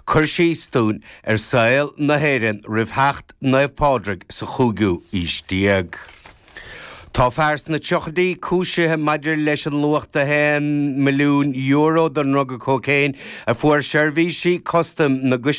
Cur síos dúinn ar saol na hÉireann roimh theacht Naomh Pádraig sa chúigiú aois déag. Tá fear sna tríochaidí cúisithe maidir leis an luach de €1 milliún den ndruga cócaon a fuair seirbhísí custaim na.